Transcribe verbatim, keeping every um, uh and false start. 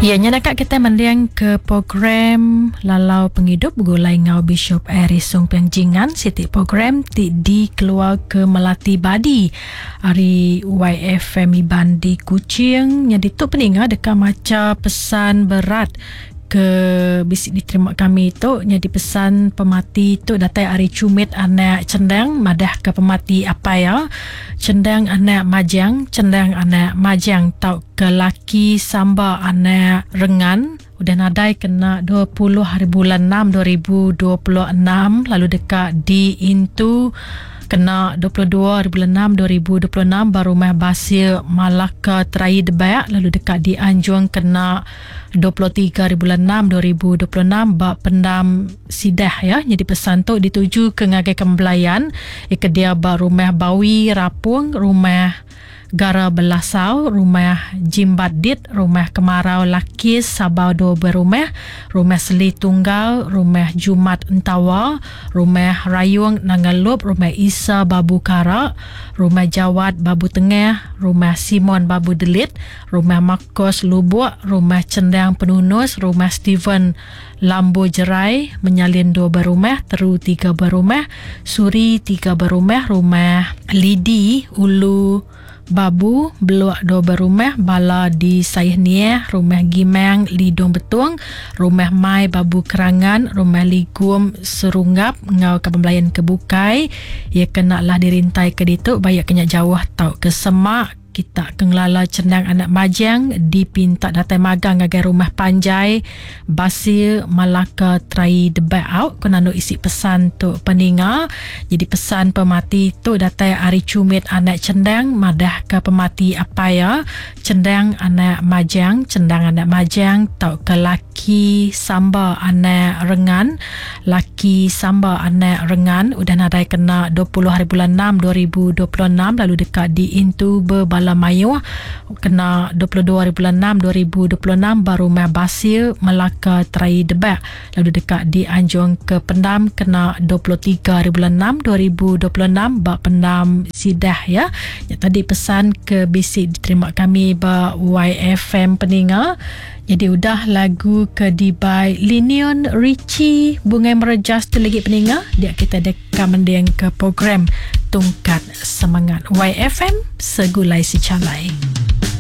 Ya, nya nak kita mendiang ke program Lalau Penghidup begulai ngau Bishop Aris Song Piang Jingan, siti program ti dikeluar ke Melati Badi hari Y F M Iban di Kuching. Nya ditu peninga deka maca pesan berat ke bisik diterima kami tu. Nya dipesan pemati tu datai ari cumit anak cendang madah ke pemati apa ya cendang anak majang cendang anak majang tau ke laki samba anak rengan udah nadai kena dua puluh hari bulan enam dua ribu dua puluh enam lalu dekat di intu kena dua puluh dua hari bulan enam dua ribu dua puluh enam baru rumah Basir Malaka Terai Debak lalu dekat di Anjung kena dua puluh tiga hari bulan enam dua ribu dua puluh enam bak pendam Sidah ya. Jadi pesan tu dituju ke ngagai kembelayan ke dia ba rumah Bawi Rapung, rumah Gara Belasau, rumah Jimbat Dit, rumah Kemarau Lakis Sabau dua berumah, rumah Seli Tunggal, rumah Jumat Entawa, rumah Rayung Nangalup, rumah Isa Babu Kara, rumah Jawat Babu Tengah, rumah Simon Babu Delit, rumah Marcos Lubuk, rumah Cendang Penunus, rumah Steven Lambo Jerai, menyalin dua berumah, Teru tiga berumah, Suri tiga berumah, rumah Lidi Ulu Babu, Beluak dua berumah, Bala di Sayh Nieh, rumah Gimang Lidung Betung, rumah Mai Babu Kerangan, rumah Ligum Serunggap, ngau ke pembelayan kebukai. Ia kena lah dirintai ke ditu, bayak kena jauh tau ke semak. Kita kengelala cendang anak majang dipinta datai magang ngagai rumah panjai Basir Malaka Trai Debak out kena nu isi pesan tu peninga. Jadi pesan pemati tu datai ari cumit anak cendang madah ke pemati apa ya cendang anak majang cendang anak majang tau ke laki samba anak rengan laki samba anak rengan udah nadai kena dua puluh hari bulan enam dua ribu dua puluh enam lalu dekat di intu berbala Mayuh kena dua puluh dua hari bulan enam dua ribu dua puluh enam baru rumah Basir Melaka Terai Debak lalu dekat di Anjung ke Pendam kena dua puluh tiga hari bulan enam dua ribu dua puluh enam bak Pendam Sidah ya. Ya tadi pesan ke bisik diterima kami ba Y F M peninga. Jadi udah lagu ke dibai Linion Richie Bungai Merejas tu lagi peninga. Dia kita dekat mending ke program Tungkat Semangat Y F M Segulai Secalai.